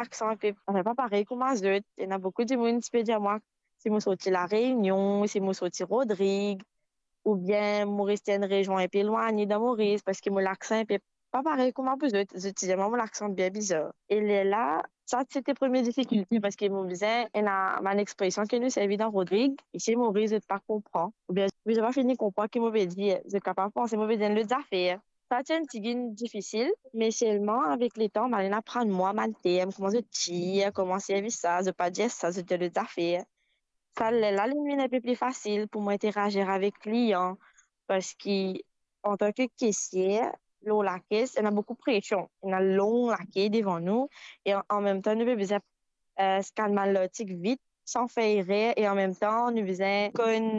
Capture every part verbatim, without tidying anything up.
laksan inpe, anfin, pa parey kouma zot. Ena boukou dimoun ti pe dir mwa si mo sorti La Réunion, si mo sorti Rodrig, oubien mo reste enn rezion inpe elwagne dan Moris, parski mo laksan inpe pa parey kouma pou zot. Zot ti dir mwa mo laksan bien bizar. E lerla, sa ti ti premie difikilte, parski mo bizin ena bann expresion ki nou servi dan Rodrig, isi Moris zot pa konpran, oubien zot pa fini konpran ki mo pe dir, zot kapav panse mo pe dir enn lot zafer. Sa ti enn tigit difisil, me selman avek letan, mo al aprann mwa bann term, kouma zot dir, kouma servi sa, zot pa dir sa, zot dir lot zafer. Sa lerla, li vinn inpe pli fasil pou mo interazir avek klian, parski antan ki kesier, lor lakes, ena boukou presion, ena long lake devan nou, e an, an mem tan, nou pe bizin, eh, skann bann lartik vit, san fer erer, e an mem tan, nou bizin konn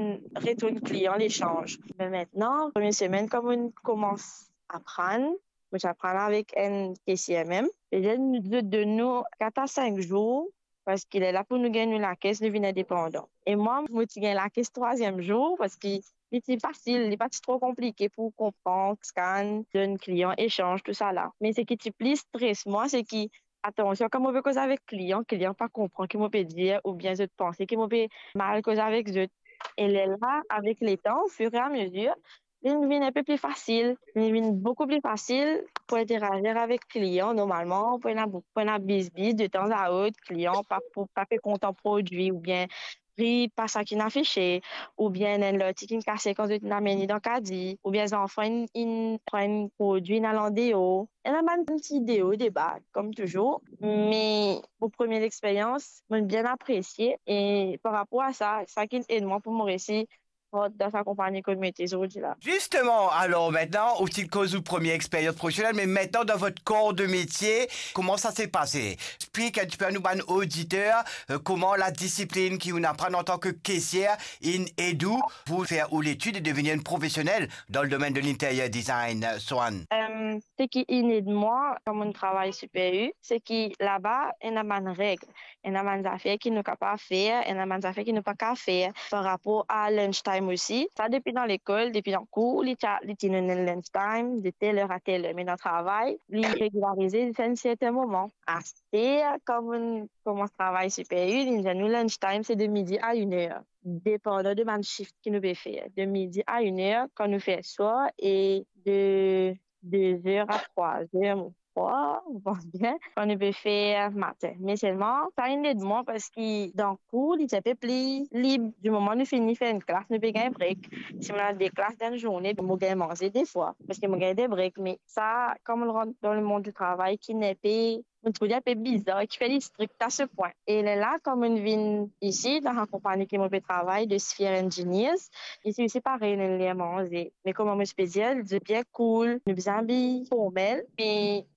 retourn klian lesanz. Me aster, premie semenn, kan mo koumans aprann, mo ti aprann avek enn kesier mem, e li dir nou, zot donn nou kat a sink zour, parski lerla pou nou gagn nou lakes, nou vinn indepandan. E mwa, mo ti gagn lakes trwaziem zour, parski li ti fasil, li pa ti tro konplike pou konpran, skann, donn klian, esanz, tousala. Me seki ti pli stres mwa, seki, atansion, kan mo pe koz avek klian, klian pa konpran ki mo pe dir, oubien zot panse ki mo pe mal koz avek zot. E lerla, avek letan, au fur et à mesure, li vinn inpe pli fasil. Li vinn boukou pli fasil pou interazir avek klian normalman, pou ena, pou ena bizbiz detanzantan, klian pa pou, pa pe kontan prodwi, oubien pri pa sa ki'nn afise, oubien enn lartik inn kase kan zot inn amenn li dan kadi, oubien zanfan inn, inn pran enn prodwi, inn al andeor. Ena bann ti de o, de ba, kom touzour, me mo premie lexperyans, mo'nn bien apresie, e par rapor a sa, sa ki'nn ed mwa pou mo resi rant dan sa konpagni kot mo ete zordi la. Justement, alors maintenant, ou ti koz ou première expérience professionnelle, mais maintenant dans votre corps de métier, comment ça s'est passé ? Explique un petit peu à nous, bann auditeur, euh, comment la discipline ki ou'nn aprann en tant que caissière inn ed ou pou fer ou letid e devenir une professionnelle dans le domaine de l'intérieur design, euh, Swan. Euh, seki inn ed mwa, kan mo'nn travay Super U, seki laba ena bann reg, ena bann zafer ki nou kapav fer, ena bann zafer ki nou pa kapav fer. Par rapor a lunch time osi, sa depi dan lekol, depi dan kour, li ti, li ti ena enn lunch time de tel er a tel er, me dan travay, li regilarize ziska enn serten moman. Aster, kan mo'nn koumans travay Super U, li dir nou lunch time se de midi a inn er, depandan de bann shift ki nou pe fer. De midi a inn er kan nou fer swar, e de de zer a trwa zer, mo krwar, mo pans bien, kan nou pe fer matin. Me selman, sa inn ed mwa, parski dan kour, li ti inpe pli lib. Di moman nou fini fer enn klas, nou pe gagn break. Si mo ena de klas dan enn zourne, mo gagn manze de fwa, parski mo gagn de break. Me sa, kan mo rant dan lemond di travay, ki inn inpe, mo trouv li inpe bizar, ki fer li strik a se pwin. E lerla, kan mo'nn vinn isi, dan sa konpagni ki mo pe travay, de Sphere Engineers, isi osi parey, ena enn ler manze. Me kouma mo ti pe dir, li bien cool, nou bizin abiy formel, me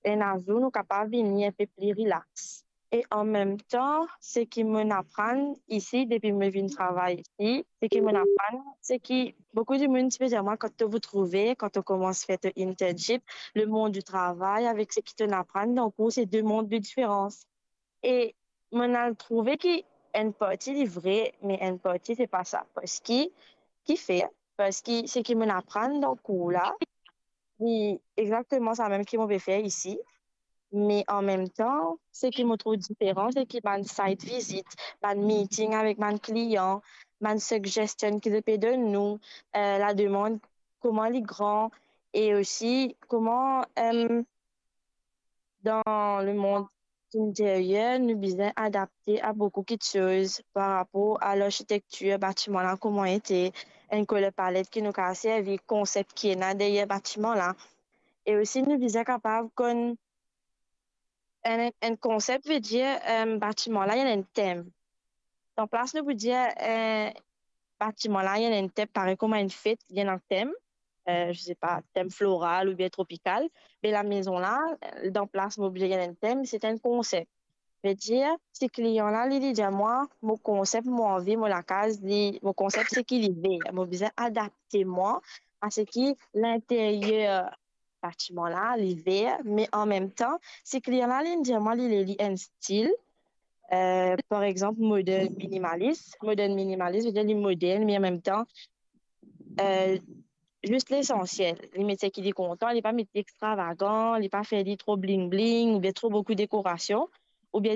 ena zour nou kapav vini inpe pli relax. E anmemtan, seki mo'nn aprann isi depi mo vinn travay isi, seki mo'nn aprann, seki boukou dimoun ti pe dir mwa, quand to vous trouve, quand to koumans fer to internship, lemond di travay avek seki to'nn aprann dan kour, se de mond de diferans. E mo'nn al trouve ki enn parti li vre, me enn parti se pa sa. Parski, kifer? Parski seki mo'nn aprann dan kour la, li exakteman samem ki mo pe fer isi. Me anmemtan, seki mo trouv diferan, seki bann site visit, bann meeting avek bann klian, bann suggestion ki zot pe donn nou, eh, lademand, kouma li gran, e osi kouma, em, dan lemond interyer, nou bizin adapte a boukou kiksoz par rapor a larsitektir batiman la, kouma ete, enn color palette ki nou kapav servi, konsep ki ena deryer batiman la. E osi, nou bizin kapav konn enn, enn konsep, vedir, em, batiman la, li ena enn tem. Dan plas nou pou dir, eh, batiman la, li ena enn tem, parey kouma enn fet, li ena enn tem, eh, je sais pas, tem floral oubien tropikal. Me lamezon la, eh, dan plas mo oblize li ena enn tem, se enn konsep. Vedir, si klian la, li, li dir mwa, mo konsep, mo anvi, mo lakaz, li, mo konsep seki li ve, mo bizin adapte mwa a seki linteryer batiman la, li ve, me anmemtan, si klian la, li dir mwa, li le li enn stil, eh, par exanp, modern minimalis. Modern minimalis, vedir li modern, me anmemtan, eh, zis lesansiel. Li met seki li kontan, li pa met li extravagan, li pa fer li tro bling bling oubien tro boukou dekorasion. oubien